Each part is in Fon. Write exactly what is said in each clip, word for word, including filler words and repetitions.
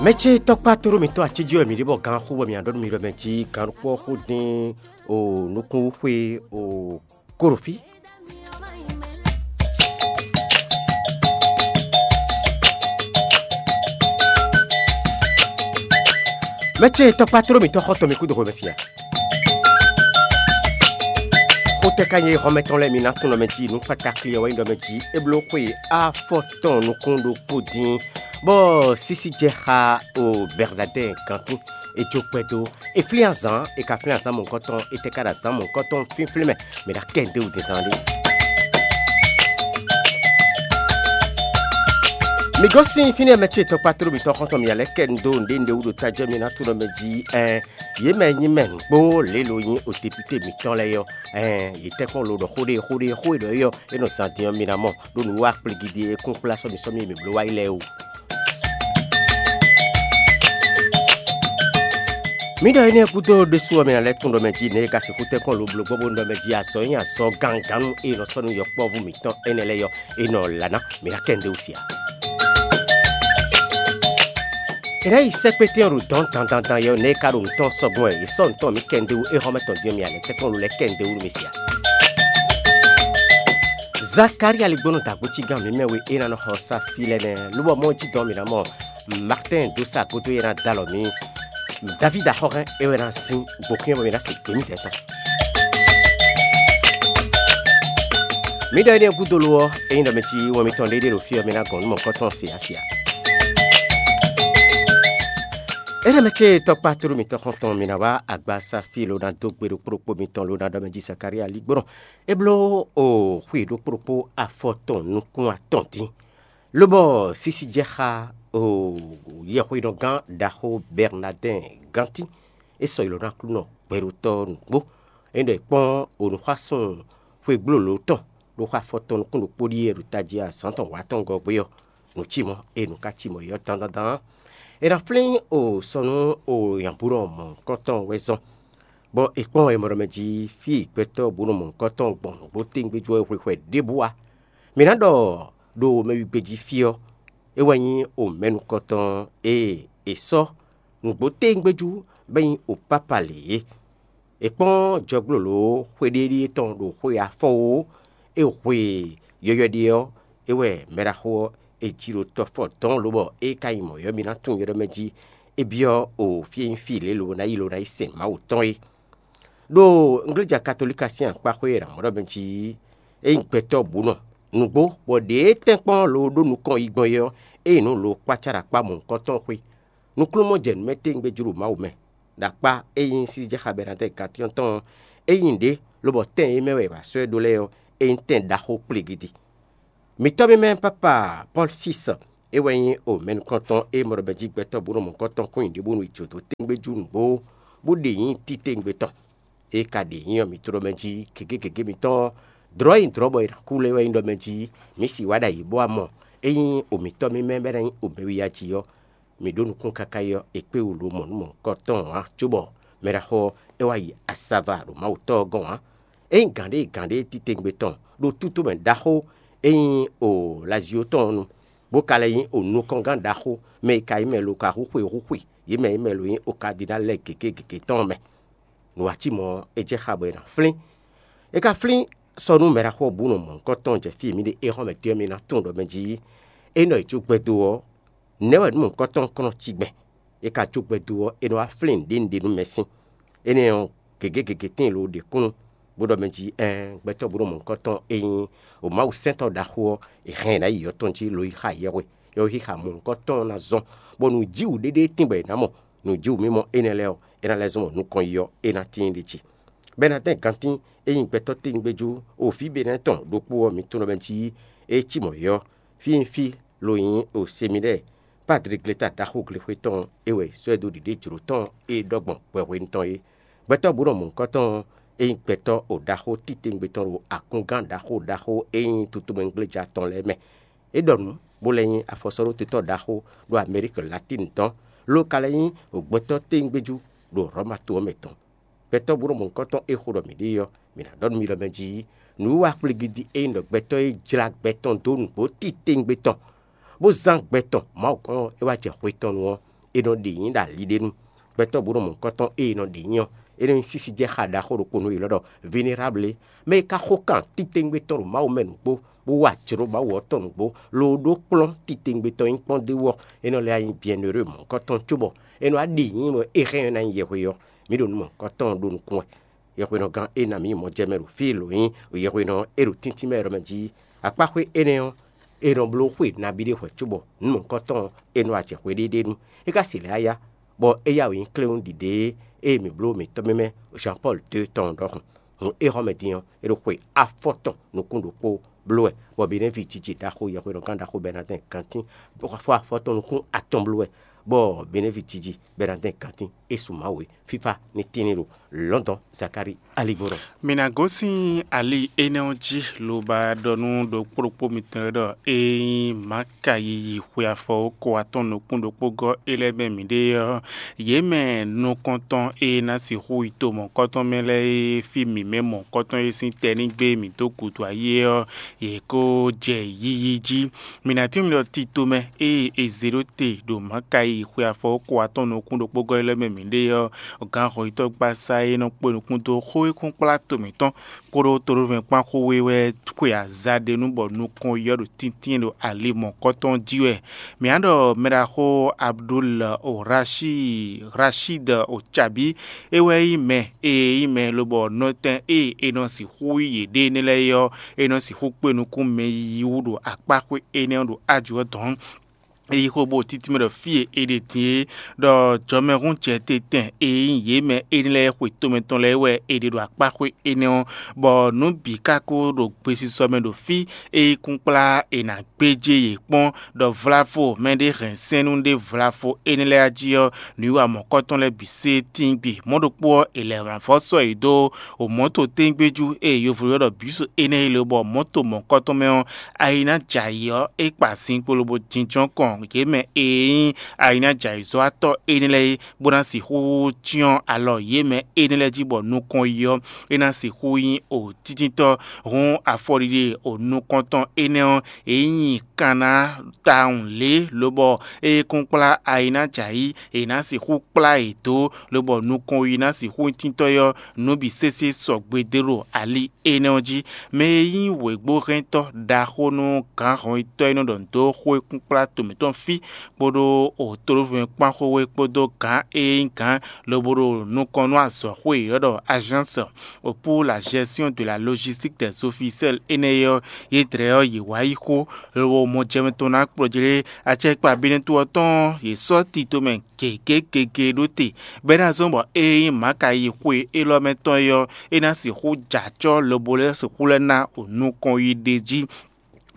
Mɛ ce tɔkpá tlóló mǐtɔn acéjí wɛ mǐ ɖe bɔ gan xú bɔ mǐ ná ɖɔ nú mi ɖɔ mɛ jí gan ɖokpó ɔ́ xó dín o nukúnxwe o kóɖofí. Mɛ ce tɔkpá tlóló mǐtɔn xɔ́ntɔn mi kúdo xwe mɛ sia. Xótɛ́ ka nyí hɔnmɛ tɔn lɛ́ɛ mi ná tunwun ɖɔ mɛ jí nǔ kpakakli ɔ́ wɛ nyí ɖɔ mɛ jí é bló xwe afɔtɔn nukún ɖokpó dín, bɔ sísí jɛ xá o Bɛrnadɛ́ɛ gántín. È jó kpɛdó, è flín azǎn, è ka flín azǎn mɔ̌hunkɔtɔn, è tɛ ka ɖo azǎn mɔ̌hunkɔtɔn fínflín mɛ, mǐ ná kɛ ndéwú din zán ɖé. Mi gosín fínɛ́ mɛ ce tɔkpá tlóló mǐtɔn xɔ́ntɔn mǐ lɛ́ kɛ nu dó nǔɖé nǔɖé wú ɖo tají ɔ́ mi ná tunwun ɖɔ mɛ jí ɛn yě mɛ nyí mɛ nǔgbó lě lo nyí o depúté mǐtɔn lɛ́ɛ ɔ́, ɛn yě tɛ́nkpɔ́n lo ɖɔ xó ɖé xó ɖé xó e ɖɔ é ɔ́ é nɔ zan din ɔ́ mi ná mɔ ɖó nǔ wa kplígídí e kún kplá sɔ́ mi sɔ́ mi e mǐ bló wá yi lɛ́ɛ o. Mǐ ɖɔ énɛ́ gúdo ɖésú ɔ́ mɛ ná lɛ́ tunwun ɖɔ mɛ jí nɛ̌ e ka sixú tɛ́nkpɔ́n lo bló gbɔn bónú ɖɔ mɛ jí azɔ̌ e nyí azɔ̌ gangannú e è nɔ sɔ́ nú yɔkpɔ́vú mǐtɔn énɛ́ lɛ́ɛ ɔ́, è nɔ lǎ ná mǐ ná kɛ nǔɖé wú sia. È nǎ yi sɛ́kpétɛ́n ɖo dɔ̌n dandandan yɛ ɔ́, nɛ̌ e ka ɖo nǔ tɔn sɔ́ gbɔn wɛ è sɔ́ nǔ tɔn mǐ kɛ nǔɖé wú é hɔn mɛ tɔn din ɔ́, mǐ ná lɛ́ tɛ́nkpɔ́n lo lɛ́ kɛ nǔɖé wú nú mi sia. Zakalía ligbónú dǎgbócígán mǐmɛ́ we é ná nɔ xɔ sá fí lɛ́ɛ nɛ́, lobɔ mɔ jí dɔn mǐ ná mɔ Martɛ́n dó sá gúdo é ná dó alɔ mǐ. Davídi axɔ́hɛn é wɛ ná sín gbokún ɔ́ bɔ mǐ ná se gbě mǐdɛɛ tɔn. Mǐ ɖɔ énɛ́ gúdo lo ɔ́, ényí ɖɔ mɛ cí wɛn mitɔn ɖé ɖé ɖo fí ɔ́, mǐ ná gɔn nú mɔ̌hunkɔtɔn se asia. Énɛ́ mɛ ce tɔkpá tlóló mǐtɔn xɔ́ntɔn mǐ ná wá agbaza fí lo ná dó gbe ɖokpó ɖokpó mitɔn lo ná ɖɔ mɛ jí Zakalía ligbónɔ. É bló o xwe ɖokpó ɖokpó afɔ tɔn nukún atɔn dín. Lobɔ sísí jɛ xá o yɛhweyɔ́gán ɖaxó Bɛrnadɛ́n gántín, é sɔ yi lɔ nú Aklúnɔ gbɛɖotɔ́ nǔgbó. É ɖɔ è kpɔ́n onǔxwásún xwegbló lǒ tɔn ɖo xó afɔtɔn nukún ɖokpó ɖíe ɖo tají azǎn tɔn wǎ tɔn gɔ́ gbé ɔ́, nǔ cí mɔ̌, ée nǔ ka cí mɔ̌ é ɔ́ dandandan ɔ́, è nǎ flín o sɔ nú o nyabúnɔ mɔ̌hunkɔtɔn wɛ zɔ́n. Bɔ è kpɔ́n wɛ mɔ ɖɔ mɛ jí fí e gbɛtɔ́ bǔ nɔ mɔ̌hunkɔtɔn gbɔn nǔgbó tɛ́ngbé jú ɔ́ é hwe xwɛ ɖěbǔ ǎ. Mǐ ná ɖɔ ɖo mɛwígbé jí fí ɔ́, é wɛ nyí omɛnukɔtɔn e è sɔ́ nǔgbó tɛ́ngbé jú bɔ é nyí opápa lě é. È kpɔ́n jɔgblǒlǒ xwéɖéɖíe tɔn ɖo xwe afɔ́ ó, é hwe yɔywɛ ɖe ɔ́, é wɛ mɛɖaxó ɔ́ è ji ɖo tɔfɔ dɔ̌n lobɔ é ka nyí mɔ̌ ɔ́, mi ná tunwun yɔ́ ɖɔ mɛ jí é byɔ́ o fí e nyí fí lě lobo ná yi lo ná yi sɛn Mawu tɔn é. Ɖo Ngléja Katolíka sín akpáxwé e è nǎ mɔ ɖɔ mɛ jí é nyí gbɛtɔ́ bǔ nɔ nǔgbó, bɔ ɖě tɛ́nkpɔ́n lo ɖó nukɔn yi gbɔn é ɔ́, é nyí nǔ lo kpácá ɖo akpá mɔ̌hunkɔtɔn xwé. Nukúnnú jɛ nǔ mɛ tɛ́ngbé jló Mawu mɛ, ɖo akpá e nyí sísí jɛ xá Bɛnadɛ́ Gatíɔ́n tɔn ɔ́, é nyí nǔɖé, lobɔ tɛn e mɛ wɛ è wǎ sɔ́ ɛ ɖó lɛ́ɛ ɔ́, é nyí tɛn ɖaxó kpligidi. Mǐtɔ́ mímɛ́ pápa Pɔ́lu sísɔ, é wɛ nyí o mɛ nukɔntɔn e mɔ ɖɔ mɛ jí gbɛtɔ́ bó nɔ mɔ̌hunkɔtɔn kún nyi ɖěbǔnu yi jǒ dó tɛ́ngbé jú nǔgbó, bó ɖe nyǐ títewungbe tɔn. É ka ɖe nyǐ ɔ́, mǐ tló ɖɔ mɛ jí gěgé gěgé mitɔn ɔ́, dlɔ̌ e nyí dlɔ̌ bɔ è nǎ kú lɛ́ wɛ nyí ɖɔ mɛ jí mǐ sixú wá ɖo ayǐ bó wá mɔ. Ényí o mǐtɔ́ mímɛ́ bɛ́ ná nyí o mɛwiya jí ɔ́, mǐ ɖó nukún káká yi ɔ́, è kpé wú lo mɔ nǔ mɔ̌hunkɔtɔn ǎ, cóbɔ mɛɖaxó ɔ́, é wá yi asava ɖo Mawu Tɔ́ ɔ́ gɔ́n ǎ. Ényí gǎn ɖé gǎn ɖé títewungbe tɔn ɖo tútú mɛ ɖaxó e nyí o Lazio tɔn ɔ́ nu, bó ka lɛ́ nyí o nukɔngán ɖaxó mɛ e ka nyí mɛ lo ka hú xwe hú xwe yě mɛ e mɛ lo nyí o kadinali lɛ́ɛ gěgé gěgé tɔn ɔ́ mɛ. Nǔ wá cí mɔ̌ ɔ́, é jɛ xá bɔ è nǎ flín. É ka flín sɔ́ nú mɛɖaxó ɔ́ bú nɔ mɔ̌hunkɔtɔn jɛ fí e mǐ ɖe éhɔ́mɛ dó ɔ́, mì ná tunwun ɖɔ mɛ jí é nɔ yi jó gbɛdó ɔ́, nɛ̌ wɛ nú mɔ̌hunkɔtɔn kɔn nɔ cí gbɛn? É ka jó gbɛdó ɔ́, é nɔ wá flín nǔɖé nǔɖé nú mɛ sín. Énɛ́ ɔ́, gěgé gěgé tíin lo ɖe kúnnu, bó ɖɔ mɛ jí ɛɛn gbɛtɔ́ bó ɖo mɔ̌hunkɔtɔn e nyí o Mawu sɛ́ntɔ́ ɖaxó ɔ́, è hɛn ɛ ná yi yɔ̌ tɔn jí lo yi xa yɛhwe, yɔhwexixa mɔ̌hunkɔtɔn ɔ́ ná zɔ́n, bɔ nǔjíwǔ ɖéɖé tíin bɔ è nǎ mɔ. Nǔjíwǔmimɔ énɛ́ lɛ́ɛ ɔ́, é ná lɛ́ zɔ́n bɔ nukɔn yi ɔ́, é ná tíin ɖ'é jí. Bɛnadɛ́n gantín e nyí gbɛtɔ́ tewungbejú o fí Benɛ́ɛ tɔn ɖokpó ɔ́, mi tunwun ɖɔ mɛ jí é cí mɔ̌ é ɔ́, fí e nyí fí lo nyí o Semidɛ́ɛ, Padri gleta ɖaxó glexwé tɔn e wɛ è sɔ́ ɛ dó ɖiɖée jlǒ tɔn e ɖɔ gbɔn hwɛhwenu tɔn é. Gbɛtɔ́ bǔ nɔ mɔ̌hunkɔtɔn ɔ́, é nyí gbɛtɔ́ o ɖaxó titewungbe tɔn ɖo akúngán ɖaxó ɖaxó e nyí tutomɛgbléja tɔn lɛ́ɛ mɛ. É ɖɔ nǔ, bó lɛ́ nyí afɔsɔ́ɖótɔ́ ɖaxó ɖo Amɛlíki Latíni tɔn, ló ka lɛ́ nyí gbɛtɔ́ tewungbejú ɖo Hlɔ̌ma to ɔ́ mɛ tɔn. Gbɛtɔ́ búnɔ mɔ̌hunkɔtɔn e xo ɖɔ mǐ ɖe ɔ́, mǐ ná ɖɔ nú mi ɖɔ mɛ jí nǔwiwa kplígídí e nyí ɖɔ gbɛtɔ́ e jlá gbɛ tɔn dó nǔgbó titewungbe tɔn, bó zán gbɛ tɔn Mawu gɔ́n ɔ́, é wá jɛ hwe tɔn nu ɔ́, è nɔ ɖe nyǐ ɖo ali ɖé nu. Gbɛtɔ́ bǔ nɔ mɔ̌hunkɔtɔn e è nɔ ɖe nyǐ ɔ́, é nɔ nyí sísíjɛ́xa ɖaxó ɖokpó nú yě lɔ ɖɔ Vénérable, mɛ e ka xo kan titewungbe tɔn ɖo Mawu mɛ nǔgbó, bó wa jlǒ Mawu ɔ́ tɔn nǔgbó, lobo ɖó kplɔ́n titewungbe tɔn nyí kpɔ́n d'é wú ɔ́, é nɔ lɛ́ wá nyí byɛ̌nheureux mɔ̌hunkɔtɔn cóbɔ é nɔ wá ɖe nyǐ bɔ é hɛn ɔ́ ná nyí yɛhwe ɔ́. Mǐ ɖo nǔ mɔ̌hunkɔtɔn ɖó nukún wɛ. Yɛhwenɔgán e ná mǐ mɔ jɛ mɛ ɖo fí e lǒ nyí yɛhwenɔ e ɖo tíntín mɛ ɖɔ mɛ jí akpáxwé énɛ́ ɔ́, è nɔ bló xwe nabí ɖé hwɛ̌ cóbɔ nǔ mɔ̌hunkɔtɔn ɔ́, è nɔ wá jɛ hweɖéɖé nu. É ka se lɛ̌ á yá, bɔ é yá wǔ nyí kléwún ɖiɖe e mǐ bló mǐtɔn mímɛ́ Jean Paul dó tɔn ɔ́ ɖɔhun. Hǔn éhɔ́mɛ din ɔ́, é ɖo xwe afɔtɔn nukún ɖokpó bló wɛ, bɔ Benɛ́vi jiji ɖaxó yɛhwenɔgán ɖaxó Bɛnadɛ́n kantín fɔ afɔtɔn nukún atɔn bló wɛ, bɔ Benɛ́vi jiji Bɛnadɛ́n kantín é su Mawu é. Fífá ní tín n'i ɖo Lɔ̌ndɔn Zakári aligbɔnɔ. Mi ná gosín ali énɛ́ ɔ́ jí, lobo ba ɖɔ nú ɖokpó ɖokpó mitɔn e ɖɔ é nyí Maka yiyi xwe afɔ ko atɔn nukún ɖokpó gɔ́ é lɛ́ɛ mɛ mǐɖée ɔ́, yě mɛ nukɔntɔn e ná sixú yi to mɔ̌kɔtɔn mɛ lɛ́ɛ e fí mǐmɛ́ mɔ̌kɔtɔn e sín tɛnígbe mǐ dó gǔdo ayé ɔ́, yě ko jɛ yiyi jí. Mi ná tín mi ɖɔ tito mɛ ée è zě ɖó te ɖo Maka yiyi xwe afɔ ko atɔn nukún ɖokpó gɔ́ é lɛ́ɛ mɛ mǐɖée ɔ́, gǎn hɔnyitɔ́gbasá e nɔ kpó nukún dó xó e kún kplá to mǐtɔn kpódó tonúvɛ́nkpán xó we wɛ xwe aza ɖé nu bɔ nukɔn yi ɔ́ ɖo tíntín ɖo ali mɔ̌kɔtɔn jí wɛ. Mǐ á ɖɔ mɛɖaxó Abdul Rashid Rashid Ocabi é wɛ nyí mɛ e nyí mɛ lobɔ nɔtɛn e è nɔ sixú yí yěɖée énɛ́ lɛ́ɛ é ɔ́, é nɔ sixú kpé nukún mɛ yiyi wú ɖo akpáxwé énɛ́ ɔ́ ɖo ájǔ ɔ́ dɔ̌n. É yí xó bó títí mɛ ɖɔ fí e è ɖe din é, ɖɔ jɔmɛhúnjɛtɛn e nyí yě mɛ énɛ́ lɛ́ɛ xwe tomɛ tɔn lɛ́ɛ wɛ è ɖe ɖo akpáxwé énɛ́ ɔ́, bɔ nǔ bǐ ka ko ɖo gbesisɔ mɛ ɖo fí e yí kún kplá è nǎ gbéjé yě kpɔ́n, ɖɔ vlavo mɛɖé hɛn sɛ́nnú ɖé vlavo énɛ́ lɛ́ɛ jí ɔ́, nǔwiwa mɔ̌kɔtɔn lɛ́ɛ bǐ sé tíngbe. Mɔ̌ ɖokpó ɔ́, è lɛ wǎn vɔ́ sɔ́ yě dó o mɔ̌to téngbéjú e yovo ylɔ́ ɖɔ bǐsu énɛ́ é lě bɔ mɔ̌to mɔ̌kɔtɔn mɛ ɔ́, ayi ná jɛ ayǐ ɔ́, é kpa zinkpo lobo jínjɔ́n kɔn yě mɛ e nyí ayi ná jɛ ayǐzɔ́watɔ́ énɛ́ lɛ́ɛ é, bó ná sixú cyɔ́n alɔ yě mɛ énɛ́ lɛ́ɛ jí bɔ nukɔn yi ɔ́, é ná sixú nyí o títíntɔ́. Hǔn afɔɖiɖe o nukɔntɔn énɛ́ ɔ́, é nyí kanna tawun lě, lobɔ ée kún kplá ayi ná jɛ ayǐ, è nǎ sixú kplá yě dó, lobɔ nukɔn yi ná sixú nyí tíntɔ́ ɔ́, nǔ bǐ sésé sɔgbe dó ɖo ali énɛ́ ɔ́ jí. Mɛ e nyí wěgbóhɛntɔ́ ɖaxó nú gǎn hɔnyitɔ́ e nɔ ɖɔ nǔ dó xó e kún kplá to mǐtɔn fí kpódó otolóvɛ́nkpán xwé kpódó gǎn e nyí gǎn lobo ɖo nukɔn nú azɔ̌xwé e è ylɔ́ ɖɔ azǎnsɔ pour la gestion de la logistique des officiels énɛ́ ɔ́, yě dlɛ́ ɔ́, yě wá yí xó, lobo mɔ jɛmɛ tɔn ná kplɔ́ jlé. Acɛkpa Benɛ́to ɔ́ tɔn ɔ́, yě sɔ́ tito mɛ gěgé gěgé ɖó te, bɔ é ná zɔ́n bɔ ée nyí Maka yi xwe élɔ́ mɛ tɔn é ɔ́, é ná sixú jɛ acɔ́ lobo lɛ́ sixú lɛ́ ná nukɔn yi ɖ'é jí.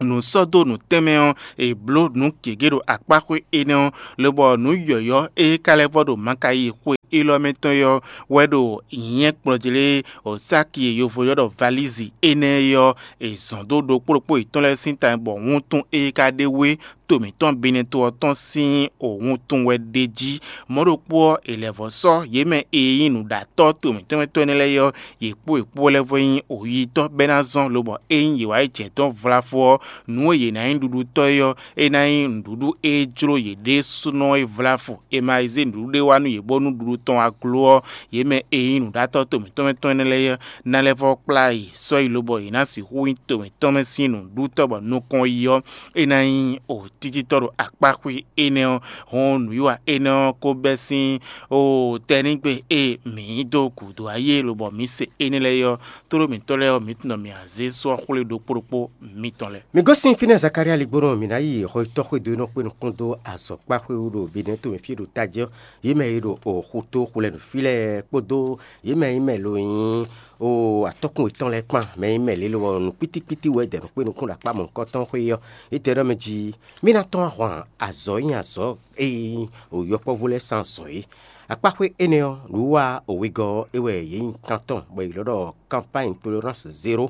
Nǔ sɔ́ dó nǔ tɛnmɛ ɔ́, è blǒ nǔ gěgé ɖo akpáxwé énɛ́ ɔ́, lobɔ nǔ yɔ̌yɔ́ e ka lɛ́ vɔ ɖo Maka yi xwe élɔ́ mɛ tɔn é ɔ́ wɛ ɖo nyɛ̌ kplɔ́ jlé Osáki e yovo ylɔ́ ɖɔ valízi énɛ́ é ɔ́, è zɔ̌n dó ɖokpó ɖokpó yětɔn lɛ́ɛ sín ta bɔ wuntun e ka ɖe wú é to mǐtɔn Benɛto ɔ́ tɔn sín wuntun wɛ ɖ'é jí. Mɔ̌ ɖokpó ɔ́, è lɛ̌ vɔ́ sɔ́ yě mɛ e nyí nǔɖatɔ́ to mǐtɔn mɛ tɔn énɛ́ lɛ́ɛ ɔ́, yě kpó yě kpó lɛ́ vɔ nyí oyítɔ́ bɔ é ná zɔ́n, lobɔ ényí yě wá yi jɛ dɔ̌n vlafo ɔ́, nǔ e yě ná nyí nǔɖuɖutɔ́ é ɔ́, é ná nyí nǔɖuɖu e jló yě ɖésúnɔ é vlafo. È ma yi zé nǔɖuɖu ɖé wá nú yě bónú ɖuɖu tɔn wá gló ɔ́, yě mɛ e nyí nǔɖatɔ́ to mǐtɔn mɛ tɔn énɛ́ lɛ́ɛ ɔ́, ná lɛ́ vɔ́ kplá yě sɔ́ yi, lobɔ yě ná sixú nyí to mǐtɔn mɛ sín nǔɖutɔ́ bɔ nukɔn yi ɔ́, é ná nyí o títítɔ́ ɖo akpáxwé énɛ́ ɔ́. Hɔn nǔwiwa énɛ́ ɔ́ ko bɛ́ sín o tɛnígbe e mǐ yí dó gǔdo ayé lobɔ mǐ se énɛ́ lɛ́ɛ ɔ́, tlóló mǐtɔn lɛ́ɛ ɔ́, mǐ tunwun ɖɔ mǐ wǎ zé sɔ́ xwlé ɖokpó ɖokpó mitɔn lɛ́ɛ. Mi gosín fínɛ́ Zakalía ligbónɔ mǐ ná yi xɔyítɔ́ xwédo e nɔ kpé nukún dó azɔ̌kpáxwé wú ɖo Benɛ́to mɛ fí e ɖo tají ɔ́, yě mɛ e ɖo xutó xwlɛnǔ fí lɛ́ɛ kpódó yě mɛ e nyí mɛ lo nyí o atɔ́kùn yětɔn lɛ́ɛ kpán, mɛ e nyí mɛ lě lo ɔ́, nǔ kpítíkpítí wɛ é dɛ nǔ kpé nukún ɖo akpá mɔ̌hunkɔtɔn xwé ɔ́. Yě tɛ ɖɔ mɛ jí mí ná tɔ́n ahwan azɔ̌ e nyí azɔ̌ e nyí o yɔkpɔ́vú lɛ́ɛ sín azɔ̌ é. Akpáxwé énɛ́ ɔ́, nǔwiwa wegɔ́ ɔ́ é wɛ yě nyi kan tɔn bɔ è ylɔ́ ɖɔ kanpány toleránsi zéro.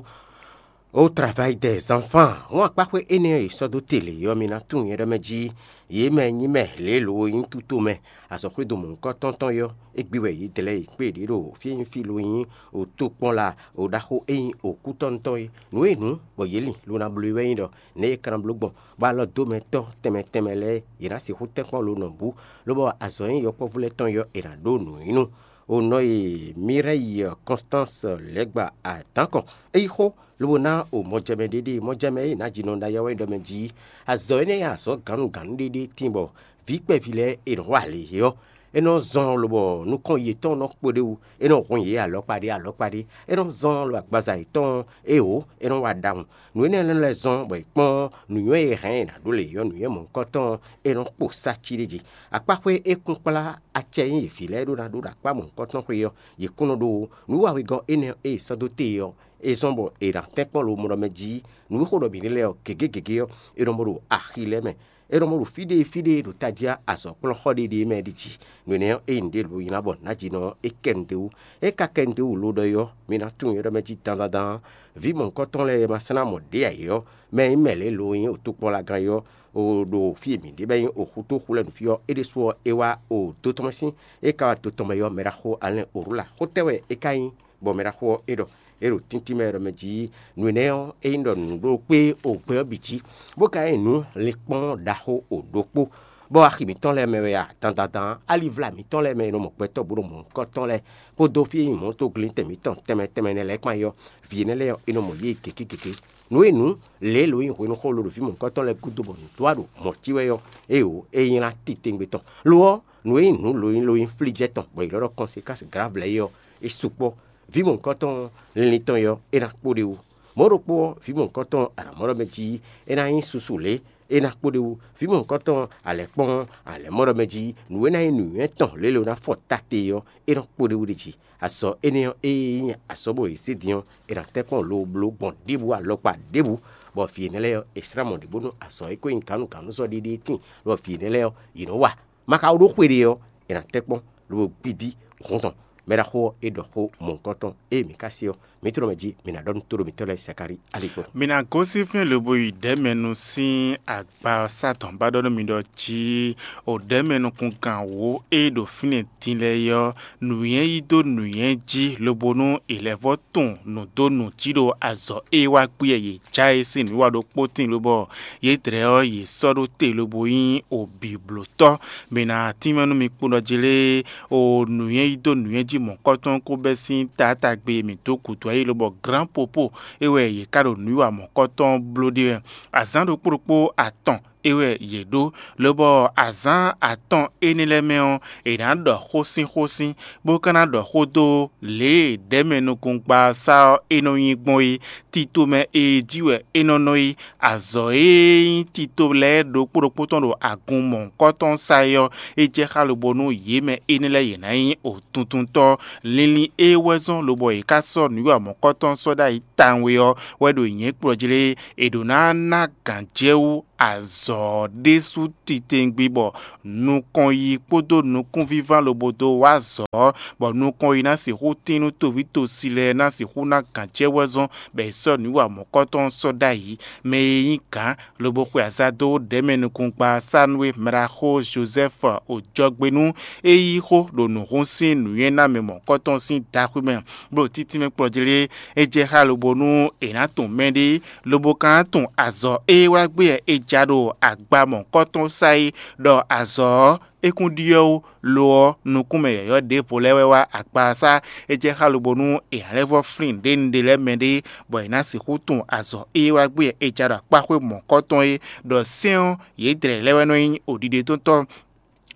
Ó travayi dɛ zanfán hɔn akpáxwé énɛ́ e è sɔ́ dó te lě ɔ́, mi ná tunwun nyɛ ɖɔ mɛ jí. Yě mɛ nyí mɛ lě lo e nyí túto mɛ azɔ̌xwédo mɔ̌hunkɔtɔn tɔn yɔ́, é gbe wɛ yě dlɛ́ yě kpé ɖě ɖo fí e nyí fí lo nyí otokpɔ́n la o ɖaxó e nyí òkútɔ́ntɔn é. Nǔ e nǔ bɔ yě lin lo ná bló é wɛ nyí ɖɔ nɛ̌ è ka ná bló gbɔn bɔ alɔ dó mɛ tɔ́ tɛnmɛ tɛnmɛ lɛ́ɛ yě ná sixú tɛ́nkpɔ́n lo nɔ bú, lobɔ azɔ̌ e nyí yɔkpɔ́vú lɛ́ɛ tɔn yɔ́ è nǎ ɖó nǔ nyi nú. O nɔ e Mirɛ́yi Kɔnstánsi lɛ́ gba adǎn kɔn. É yí xó lobo ná o mɔjɛmɛ ɖéɖé mɔjɛmɛ e nǎ ji nɔ ɖ'ayɔ́ wɛ ɖɔ mɛ jí. Azɔ̌ énɛ́ e azɔ̌ gǎnnugǎnnu ɖéɖé tín bɔ vǐ kpɛví lɛ́ɛ è nɔ wa lě é ɔ́, é nɔ zɔn lobɔ nukɔn yětɔn nɔ kpo ɖ'é wú, é nɔ hun yě alɔkpa ɖé alɔkpa ɖé, é nɔ zɔn lo agbaza yětɔn éeǒ, é nɔ wa ɖawun. Nǔ énɛ́ lɛ́ɛ zɔn bɔ è kpɔ́n nǔnywɛ́ e hɛn è nǎ ɖó lě ɔ́, nǔnywɛ́ mɔ̌hunkɔtɔn ɔ́, é nɔ kpo sá cí ɖé jí. Akpáxwé e kún kplá acɛ e nyí vǐ lɛ́ɛ ɖó ná ɖó ɖo akpá mɔ̌hunkɔtɔn xwe ɔ́, yě kún nɔ ɖó nǔ wawegɔ́ énɛ́ e è sɔ́ dó te ɔ́, é zɔ́n bɔ è nǎ tɛ́nkpɔ́n lo mɔ ɖɔ mɛ jí. Nǔ e xo ɖɔ mǐ ɖe lɛ́ɛ ɔ́, gěgé gěgé ɔ́, è nɔ mɔ ɖo axi lɛ́ɛ mɛ. È nɔ mɔ ɖo fí ɖé fí ɖé ɖo tají azɔ̌kplɔ́nxɔ ɖé ɖé mɛ ɖi jí. Nǔ énɛ́ ɔ́, ényí ɖě lo nyí ná bɔ nǎ jí nɔ é kɛ nǔɖé wú. É ka kɛ nǔɖé wú lo ɖɔ é ɔ́, mi ná tunwun é ɖɔ mɛ jí dandandan. Vǐ mɔ̌hunkɔtɔn lɛ́ɛ e ma sɛ́n ná mɔ ɖě ǎ é ɔ́, mɛ e nyí mɛ lě lo nyí otokpɔ́nlagan é ɔ́, o ɖo fí e mǐ ɖe bɔ é nyí oxútóxú lɛ́ɛ nǔ fí ɔ́, é ɖésú ɔ́, é wá o dó tɔn mɛ sín. É ka wá dó tɔn mɛ ɔ́, mɛ ɖaxó Alɛ́n Oróla xó tɛ́ wɛ é ka nyí, bɔ mɛ ɖaxó ɔ́ é ɖɔ é ɖo tíntín mɛ ɖɔ mɛ jí nǔ énɛ́ ɔ́, é nyí ɖɔ nǔ ɖokpé o gbɛ ɔ́ bǐ jí, bó ka nyí nǔ linkpɔ́n ɖaxó o ɖokpó. Bɔ axi mǐtɔn lɛ́ɛ mɛ wɛ a, dandandan alivla mǐtɔn lɛ́ɛ mɛ e nɔ mɔ gbɛtɔ́ bó nɔ mɔ nukɔntɔn lɛ́ɛ, kpódó fí e nyí mɔ̌toglíntɛn mǐtɔn tɛnmɛ tɛnmɛ nɛ́ lɛ́ɛ kpán é ɔ́, vǐ énɛ́ lɛ́ɛ ɔ́, é nɔ mɔ yě gěgé gěgé. Nǔ e nǔ lě e lǒ nyi hwenu xó lóɖo vǐ mɔ̌hunkɔtɔn lɛ́ɛ gúdo bɔ nǔ dó wá ɖo mɔ̌ cí wɛ ɔ́, éeǒ, é nylá titewungbe tɔn. Lo ɔ́, nǔ e nyí nǔ lǒ nyí ló nyí flíjɛ́ tɔn, bɔ è lɔ́ ɖɔ kɔnsekási grǎvlɛ́ é ɔ́, é sukpɔ́. Vǐ mɔ̌hunkɔtɔn linlin tɔn é ɔ́, é ná kpo ɖ'é wú. Mɔ̌ ɖokpó ɔ́, vǐ mɔ̌hunkɔtɔn alǎmɔ́ɖɔ mɛ jí é ná nyí susu lě, é ná kpo ɖ'é wú. Vǐ mɔ̌hunkɔtɔn alɛ̌kpɔ́n alɛ̌mɔ́ɖɔ mɛ jí nǔ e ná nyí nǔnywɛ́ tɔn lě e è nɔ ná fɔ ta te ɔ́, é nɔ kpo ɖ'é wú ɖ'é jí. Azɔ̌ énɛ́ ɔ́, ée nyí azɔ̌ bɔ è zě din ɔ́, è nǎ tɛ́nkpɔ́n lobló gbɔn ɖěbǔ alɔkpa ɖěbǔ, bɔ vǐ énɛ́ lɛ́ɛ ɔ́, è slá mɔ ɖě bónú azɔ̌ e ko nyí gǎnnugǎnnuzɔ́ ɖéɖé tíin, bɔ vǐ énɛ́ lɛ́ɛ ɔ́, yě nɔ wa. Ma ka wú ɖó xwe ɖé ɔ́, è nǎ tɛ́nkpɔ́n lobo gbídí hǔn tɔn. Mɛ ɖaxó ɔ́, é ɖɔ xó mɔ̌hunkɔtɔn ée mǐ ka se ɔ́, mǐ tlɔ́ mɛ jí mǐ ná ɖɔ nú tóɖomítɔ́ lɛ́ɛ Zakalíi aligbɔn. Mi ná gosín fínɛ́ lobo yi ɖɛ̌mɛnu sín agba ɔ́ sá dɔ̌n ba ɖɔ nú mi ɖɔ jí o ɖɛ̌mɛnukungán wǒ e ɖo fínɛ́ din lɛ́ɛ é ɔ́, nǔnywɛ́ yí dó nǔnywɛ́ jí, lobo nú è lɛ́ vɔ́ tunwun nǔ dó nǔ jí ɖo azɔ̌ e wá gbé yě já é sín nǔwiwa ɖokpó tíin lobɔ yě dlɛ́ ɔ́, yě sɔ́ ɖó te lobo nyí obǐblótɔ́. Mi ná tínmɛ nú mi kpowun ɖɔ jí lé, o nǔnywɛ́ yí dó nǔnywɛ́ jí mɔ̌kɔ́tɔn kó bɛ́ sín taátagbe e mǐ dó gǔdo ayí lobɔ glǎnpopo é wɛ yě ká ɖo nǔwiwa mɔ̌kɔ́tɔn bló ɖe wɛ. Azǎn ɖokpó ɖokpó atɔn é wɛ yě ɖó, lobɔ azǎn atɔn énɛ́ lɛ́ɛ mɛ ɔ́, è nǎ ɖɔ xósínxósín, bó ka ná ɖɔ xó dó lě e ɖɛ̌mɛnukúngban sá ɔ́ é nɔ nyí gbɔn é. Tito mɛ e jí wɛ é nɔ nɔ é. Azɔ̌ e nyí tito lɛ́ɛ ɖokpó ɖokpó tɔn ɖo agun mɔ̌hunkɔtɔn sá é ɔ́, é jɛ xá lobo nú yě mɛ énɛ́ lɛ́ɛ yě ná nyí òtuntuntɔ́. Linlin e wɛ zɔ́n lobɔ è ká sɔ́ nǔwiwa mɔ̌kɔtɔn sɔ́ ɖ'ayǐ tawun é ɔ́ wɛ ɖo nyǐ kplɔ́ jí lé. È ɖǒ ná ná gǎn jɛ wú azɔ̌ ɔ́ ɖésú titewungbe bɔ nukɔn yi kpódó nukúnvíván lobo dó wá azɔ̌ ɔ́, bɔ nukɔn yi ná sixú tín nú toví tosi lɛ́ɛ ná sixú ná gǎn jɛ wɛ zɔ́n bɔ è sɔ́ nǔwiwa mɔ̌kɔtɔn sɔ́ ɖ'ayǐ. Mɛ e nyí gǎn lobo xwe aza dó ɖɛ̌mɛnukúngban sá nú é mraxó Jozɛ́fu ojɔgbe nú é yí xó ɖo nǔhún sín nǔnywɛ́namɛ mɔ̌kɔtɔn sín daxwé mɛ, bó ɖo títínmɛ kplɔ́ jí lé. É jɛ xá lobo nú è nǎ tunwun mɛɖé, lobo ka ná tunwun azɔ̌ e wá gbé wɛ è ja ɖo agba mɔ̌kɔtɔn sá é, ɖɔ azɔ̌ ɔ́, é kún ɖyɔ́ wú, lo ɔ́, nukúnmɛ yɔ̌yɔ́ ɖěvo lɛ́ɛ wɛ wá agba ɔ́ sá. É jɛ xá lobo nú è nǎ lɛ́ vɔ́ flín nǔɖénúɖé lɛ́ɛ mɛ ɖé, bɔ è nǎ sixú tunwun azɔ̌ e wá gbé wɛ è ja ɖo akpáxwé mɔ̌kɔtɔn é, ɖɔ sɛ́n ɔ́, yě dlɛ̌ lɛ́ɛ wɛ nɔ nyí oɖiɖe tɔn tɔn.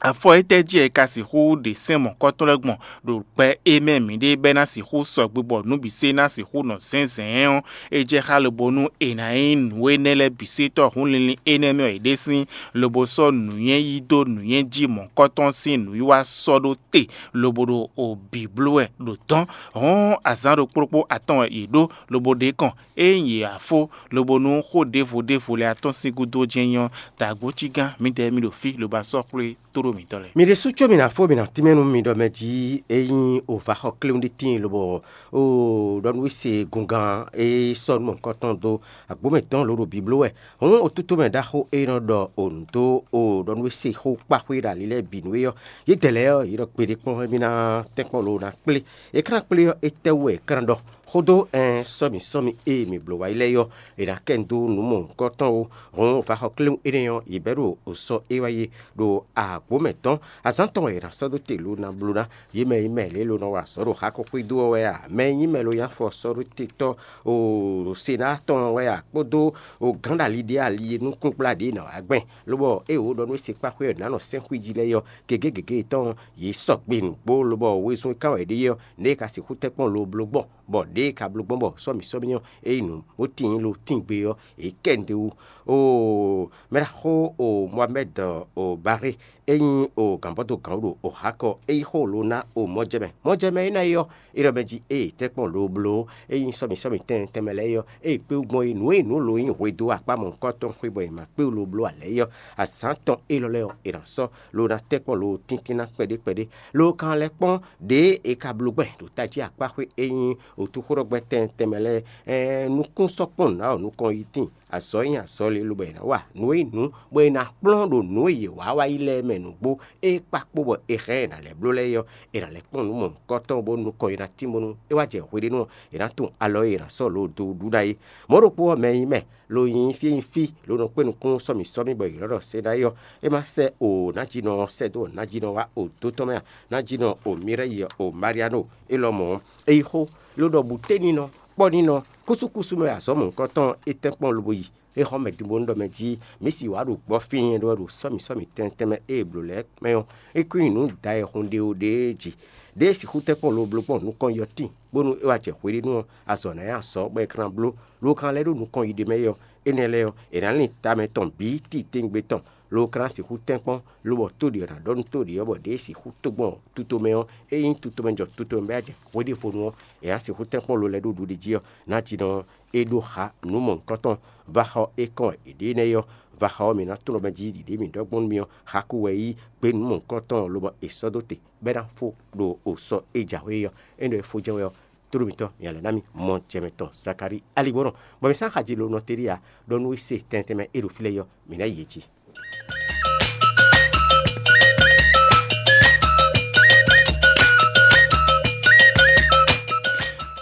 Afɔ étɛ́ jí wɛ è ka sixú ɖe sɛ́n mɔ̌kɔtɔn lɛ́ɛ gbɔn ɖo gbɛ e mɛ mǐɖée bɛ́ ná sixú sɔgbe bɔ nǔ bǐ se ná sixú nɔ zɛ̌nzɛ̌n ɔ́, é jɛ xá lobo nú è nǎ nyí nǔ énɛ́ lɛ́ɛ bǐ se tɔ́ hǔn linlin énɛ́ mɛ wɛ è ɖe sín, lobo sɔ́ nǔnywɛ́ yí dó nǔnywɛ́ jí mɔ̌kɔtɔn sín nǔwiwa sɔ́ ɖó te, lobo ɖo obǐ bló wɛ ɖo dɔ̌n. Hɔ̌n azǎn ɖokpó ɖokpó atɔn wɛ yě ɖó, lobo ɖě kɔn. Ényí yě wá fó, lobo nú xó ɖěvo ɖěvo lɛ́ɛ atɔ́n sín gúdo jɛ́n nyɔ́, dǎgbócígán mǐdɛɛ mì ɖo fí lobo asɔ́ xwlé tóɖó. mǐtɔn lɛ́ɛ. Mi ɖésú có mi ná fó mi ná tínmɛ nú mi ɖɔ mɛ jí é nyí o va xɔ kléwún ɖé tíin lobɔ o ɖɔ nú we se gungán e sɔ́ nú mɔ̌hunkɔtɔn dó agbǒmɛ tɔn lǒ ɖo bibló wɛ. Hǔn o tútú mɛ ɖaxó e nɔ ɖɔ o nǔ dó o ɖɔ nú we se xó kpáxwé ɖo ali lɛ́ɛ bǐ nú é ɔ́, yědɛɛ lɛ́ɛ ɔ́, yě ɖɔ kpeɖé kpɔ́n émí ná tɛ́nkpɔ́n lǒ ná kplé. É ka ná kplé ɔ́, étɛ́wú wɛ é ka ná ɖɔ? Xódó ɛn sɔ́mi sɔ́mi e mǐ bló wá yi lɛ́ɛ ɔ́, è nǎ kɛ nyi dó nǔ mɔ̌hunkɔtɔn ó. Hǔn vaxɔklɛ́wún énɛ́ ɔ́, yě bɛ́ ɖo sɔ́ é wá yi ɖo agbǒ mɛ tɔn. Azǎn tɔn wɛ è nǎ sɔ́ dó te lǒ ná bló ná. Yě mɛ e nyí mɛ lě ló nɔ wa azɔ̌ ɖo xakɔ́xwé dó ɔ́ wɛ a? Mɛ e nyí mɛ ló nyí afɔ sɔ́ ɖó te tɔ́ o Senáa tɔn ɔ́ wɛ a? Kpódó o gǎn ɖo ali ɖé ali e nukúngbla ɖě nɔ wá gbɛn, lobɔ ée wǒ ɖɔ nú é se kpá xwé ɔ́, nǎ nɔ sɛ́n xwíji lɛ́ɛ é ɔ́, gěgé gěgé yětɔn ɔ́, yě sɔgbe nǔgbó, lobɔ wezun e kán wɛ ɖe é ɔ́, nɛ̌ è ka sixú tɛ́nkpɔ́n lo bló gbɔn, bɔ ɖěe è ka bló gbɔn bɔ sɔ́mǐ sɔ́mǐ ɔ́, é nyí nǔ bó tíin lo tíngbe ɔ́, yě kɛ nǔɖé wú. Oo, mɛɖaxó o Moamɛ́d o Baré, é nyí o gǎnbɔ́dó gǎn ɖo o Hakɔ, é yí xó lo ná o mɔjɛmɛ. Mɔjɛmɛ énɛ́ ɔ́, é ɖɔ mɛ jí ée tɛ́nkpɔ́n lo bló, é nyí sɔ́mǐ sɔ́mǐ tɛn tɛnmɛ lɛ́ɛ é ɔ́, ée kpé wú gbɔn é, nǔ e nǔ lo nyí hwedó akpá mɔ̌hunkɔtɔn xwé bɔ è ma kpé wú lo bló ǎ lɛ́ɛ é ɔ́, azǎn tɔn élɔ́ lɛ́ɛ ɔ́, è nǎ sɔ́ lo ná tɛ́nkpɔ́n lo tíntín ná kpɛɖé kpɛɖé. Lo kan lɛ́ kpɔ́n ɖěe è ka bló gbɛn ɖo tají akpáxwé e nyí wǔtúxóɖɔgbɛ́ tɛn tɛnmɛ lɛ́ɛ, ɛɛn nukún sɔ́ kpɔ́n nǔ ná wɔ nukɔn yi tíin. Azɔ̌ nyi azɔ̌ lě lobɔ è nǎ wa nǔ e nyí nǔ, bɔ è nǎ kplɔ́n ɖo nǔ e yě wá wá yi lɛ́ɛ mɛ nǔgbó e kpá kpó bɔ è hɛn ɛ nǎ lɛ́ bló lɛ́ɛ é ɔ́, è nǎ lɛ́ kpɔ́n nǔ mɔ̌hunkɔtɔn bónú nukɔn e ná tín bónú é wá jɛ hweɖénu ɔ́, è nǎ tunwun alɔ e è nǎ sɔ́ lǒ dó ɖu ná é. Mɔ̌ ɖokpó ɔ́, mɛ e nyí mɛ lo nyi fí e nyí fí lo nɔ kpé nukún sɔ́ mǐ sɔ́ mì bɔ è ylɔ́ ɖɔ Senáyi ɔ́, é má sɛ́ o nǎjínɔ ɔ́ sɛ́ dó nǎjínɔ wá o dó tɔn mɛ a? Nǎjínɔ o Mireyi, o Mariano, é lɔmɔ̌ ɔ́, é yí xó, ló ɖɔ bǔténinɔ, kpɔ́ninɔ, kúsúkúsú mɛ azɔ̌ mɔ̌hunkɔtɔn ɔ́, é tɛ́nkpɔ́n lobo yi. É xɔ mɛ din bónú ɖɔ mɛ jí mǐ sì wǎ ɖo gbɔ fínyɛ́ ɖó wɛ ɖo sɔ́ mǐ sɔ́ mǐtɛn tɛnmɛ e è blǒ lɛ́ɛ mɛ ɔ́, é kún nyi nǔ dayɛhun ɖe ó ɖée jí. Ɖěe sixú tɛ́nkpɔ́n lo bló gbɔn nukɔn yi ɔ́ tíin, bónú é wá jɛ hweɖénu ɔ́, azɔ̌ ná nyí azɔ̌ bɔ è ka ná bló, lo ka lɛ́ ɖo nukɔn yi ɖ'é mɛ é ɔ́, énɛ́ lɛ́ɛ ɔ́, è nǎ lin tamɛ tɔn bǐ titewungbe tɔn, lo ka ná sixú tɛ́nkpɔ́n, lobɔ tóɖi ɔ́ ná ɖɔ nú tóɖi ɔ́ bɔ ɖěe sixú tó gbɔn tutomɛ ɔ́, é nyí tutomɛ jɔ tutomɛ bɔ é wá jɛ hweɖěvonu ɔ́, è nǎ sixú tɛ́nkpɔ́n lo lɛ́ɛ ɖó ɖuɖi jí ɔ́, nǎjínɔ ɔ́, é ɖó xa nǔ mɔ̌hunkɔtɔn. Vaxɔ e kɔn wɛ è ɖe énɛ́ é ɔ́, vaxɔ ɔ́ mǐ ná tunwun ɖɔ mɛ jí ɖiɖě mǐ ɖɔ gbɔn nú mi ɔ́, xaku wɛ yí gbé nǔ mɔ̌hunkɔtɔn lobɔ è sɔ́ dó te, bɔ é ná fó ɖo o sɔ e jǎwe é ɔ́. É nɔ e fó jɛ́n wɛ ɔ́, tóɖó mǐtɔn mǐ lɛ́ ná mì mɔ jɛ mǐtɔn Zakalíi alígbɔ́nɔ, bɔ mǐ sán xaji lo nɔ teɖíe ǎ, ɖɔ nú é se tɛntɛnmɛ e ɖo fí lɛ́ɛ é ɔ́, mǐ ná yi yě jí.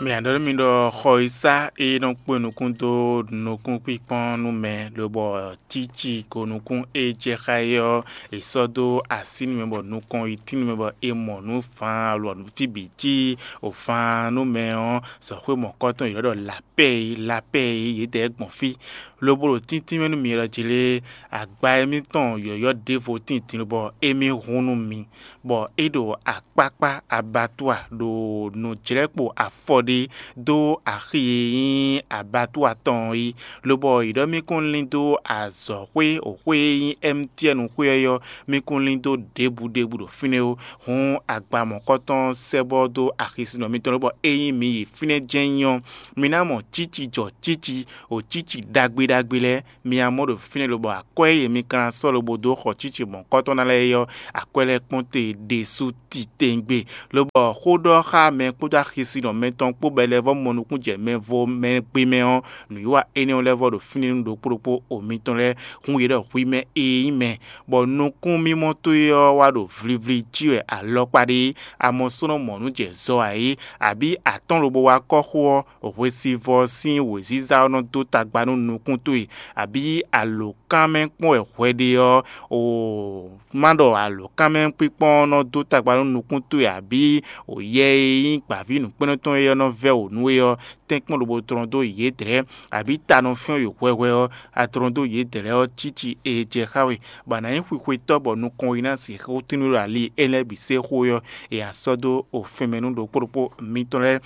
Mǐ ná ɖɔ nú mi ɖɔ xɔ e sá é nɔ kpó nukún dó nukúnkpínkpɔ́n nú mɛ, lobɔ cíci ko nukún e jɛ xá é ɔ́, è sɔ́ dó así nú mɛ bɔ nukɔn yi tín nú mɛ bɔ è mɔ nǔ van alɔ nǔ fí bǐ cí o van nú mɛ ɔ́, sɔxwé mɔ̌kɔtɔn è nɔ ɖɔ lapɛ́ é, lapɛ́ é, yědɛɛ gbɔn fí. Lobo ɖo tíntín mɛ nú mi ɖɔ jlé, agba émítɔn yɔ̌yɔ́ ɖěvo tíin din bɔ émí hun nú mi, bɔ é ɖo akpákpá abatua ɖo nǔjlɛ́kpo afɔ ɖé dó axi e nyí abatua tɔn ɔ́ yi, lobɔ yě ɖɔ mì kún lín dó azɔ̌xwé, xwé e nyí ɛ́mitiɛ́nu xwé ɔ́ yɔ́, mì kún lín dó ɖěbǔ ɖěbǔ ɖo fínɛ́ ó. Hǔn agba mɔ̌kɔtɔn sɛ́ bɔ dó axisinɔ mitɔn lobɔ ényí mi yi fínɛ́ jɛ́n nyí ɔ́, mi ná mɔ cíci jɔ cíci, o cíci ɖagbe ɖagbe lɛ́ɛ, mi ná mɔ ɖo fínɛ́ lobɔ akwɛ́ e mi ka ná sɔ́ lobo dó xɔ cíci mɔ̌kɔtɔn ná lɛ́ɛ é ɔ́, akwɛ́ lɛ́ɛ kpɔ́n te ɖésú titewungbe. Lobɔ xó ɖɔ xá mɛ kpódó axisinɔ mɛtɔn kpó bɔ è lɛ́ vɔ́ mɔ nukún jɛ mɛ vo mɛ gbe mɛ ɔ́, nǔwiwa énɛ́ ɔ́ lɛ́ vɔ ɖo fínɛ́ nú ɖokpó ɖokpó o mitɔn lɛ́ɛ hun yě ɖɔ hwi mɛ e nyí mɛ, bɔ nukúnmimɔ towe ɔ́ wá ɖo vlivli jí wɛ alɔkpa ɖe é, a mɔ sɔ́ nɔ mɔ nǔ jɛ zɔ ǎ é, abǐ atɔ́n lobo wá kɔ́ xó ɔ́, hwesivɔ́ sín wěziza ɔ́ nɔ dó tagba nú nukún towe, abǐ alǒkanmɛ kpɔ́n wɛ hwɛ ɖe ɔ́, o má ɖɔ alǒkanmɛ kpíkpɔ́n ɔ́ nɔ dó tagba nú nukún towe, abǐ o yɛ e nyí gbǎví nǔkpɛ́nnɔ tɔn é ɔ́ nɔ vɛ́ wǒ nú we ɔ́, tɛ́nkpɔ́n lobo tlɔ́n dó yědɛɛ, abǐ ta nɔ fyɔ́n we hwɛhwɛ ɔ́, a tlɔ́n dó yědɛɛ ɔ́ cíci e jɛ xá we, bɔ a nǎ nyí xwixwetɔ́ bɔ nukɔn we ná sixú tín nú ɖo ali énɛ́ bǐ se xó é ɔ́, è nǎ sɔ́ dó o fɛnmɛ nú ɖokpó ɖokpó mitɔn lɛ́ɛ.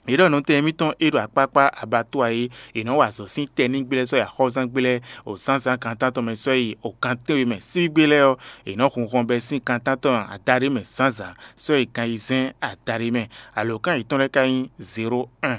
Yě ɖɔ nɔtɛn émítɔn e ɖo akpákpá abatua é, è nɔ́ wa azɔ̌ sín tɛnígbe lɛ́ɛ sɔ́ yi axɔ́zángbé lɛ́ɛ, o zǎnzǎn gan tántɔn mɛ sɔ́ yi o gan tɛ́nwe mɛ síbígbe lɛ́ɛ ɔ́, è nɔ hun hɔnbɛ sín gan tántɔn adaɖé mɛ zǎnzǎn sɔ́ yi gan ayizɛ́n adaɖé mɛ. Alǒkan yětɔn lɛ́ɛ ka nyí zéro un.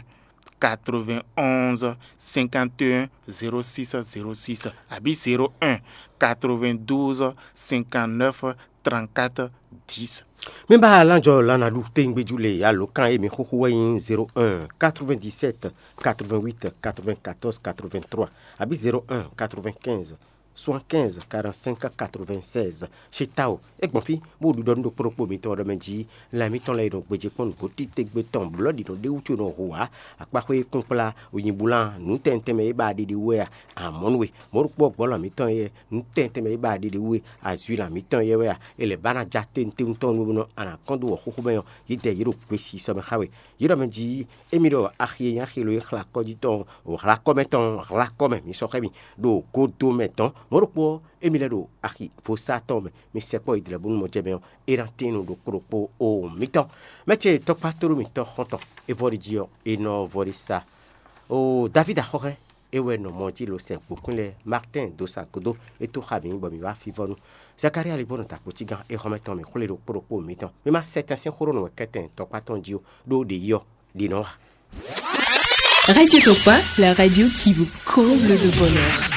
quatre-vingt-onze cinquante et un zéro six zéro six, abǐ zéro un quatre-vingt-douze cinquante-neuf trente-quatre dix. Mi ba alánjɔ lánàɖu téńgbéjú le alǒkan e mi xúxú wɛ nyí zéro un quatre-vingt-dix-sept quatre-vingt-huit quatre-vingt-quatorze quatre-vingt-trois, abǐ zéro un quatre-vingt-quinze soixante-quinze quarante-cinq quatre-vingt-seize. Ṣe ta o, é gbɔn fí bó ɖiɖɔ nú ɖokpó ɖokpó mitɔn ɖɔ mɛ jí lan mitɔn lɛ́ɛ e nɔ gbéjé kpɔ́n nǔgbó títégbe tɔn blɔ̌ ɖi nɔ ɖé wútu e nɔ hu ǎ. Akpáxwé e kún kplá, oyinbúlán, nǔ tɛntɛn mɛ e ba ɖiɖi wú wɛ a? Amɔ̌ nú we, mɔ̌ ɖokpó gbɔ̌ lan mitɔn e nǔ tɛntɛn mɛ e ba ɖiɖi wú e azwi lan mitɔn yɛ wɛ a? È lɛ̌ ba ná ja tɛntɛ́n tɔn nú bónú a nǎ kɔn dó wɔ̌xúxú mɛ ɔ́, yě dɛ yě ɖo gbesisɔ mɛ xá we. Yě ɖɔ mɛ jí émí ɖɔ axi e nyí axi lo e xlá kɔ́ jí tɔn, hlakɔ́ mɛ tɔn, hlakɔ́ mɛ, mi sɔ́ xá mì ɖo godo mɛ dɔn. Mɔ̌ ɖokpó ɔ́, émí lɛ́ ɖo axi vodúnsi tɔn mɛ, mi sɛkpɔ́ yi dlɛ̌ bónú mɔjɛmɛ ɔ́, é ná tín nú ɖokpó ɖokpó o mitɔn. Mɛ ce tɔkpá tóɖó mǐtɔn xɔ́ntɔn é vɔ́ ɖi jí ɔ́, é nɔ vɔ́ ɖi sa. O Davídi axɔ́xɛ é wɛ nɔ mɔ jí lo sɛ gbǒkwín lɛ́ɛ Martin dó sa gúdo é tó xa mǐ bɔ mǐ wá fínvɔ́ nú. Zakalía lí bó nɔ da kpǒcígán é xɔ́mɛ tɔn mǐ xwlé ɖokpó ɖokpó mitɔn. Mi ma sɛ tɛn sín xó ɖó nǔ wɛ kɛ́tɛn tɔkpá tɔn jí ó, ɖó ɖě yi ɔ́, ɖě nɔ wa. Radio Tokpa, la radio qui vous comble de bonheur.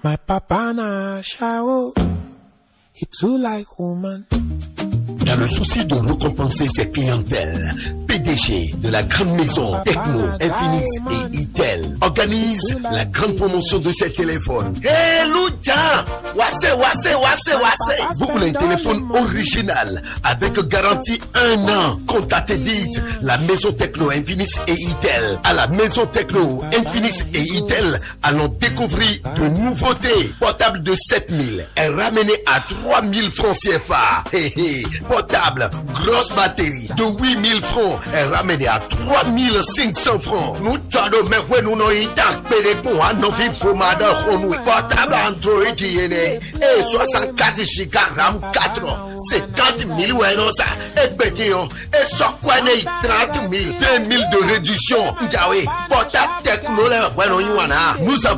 My papa na shower. He too like woman. Dans le souci de récompenser ses clientèles, P D G de la grande maison Techno, Infinix et Itel organise la grande promotion de ses téléphones. Hey, Lucha! Wase, wase, wase, wase! Vous voulez un téléphone original avec garantie un an? Contactez vite la maison Techno, Infinix et Itel. À la maison Techno, Infinix et Itel, allons découvrir de nouveautés. Portable de sept mille est ramené à trois mille francs C F A. Hé, hé. Portable, grosse batterie de huit mille francs est ramené à trois mille cinq cents francs. Nous tchado me hwe nous no ita pede pour un novi pour madame Honou. Portable Android yene. Et soixante-quatre giga RAM quatre, cinquante mille ouais non ça. Et petit, hein. Et sur quoi n'est trente mille, vingt mille de réduction. Njawe, portable techno là, ouais non, you wanna. Nous avons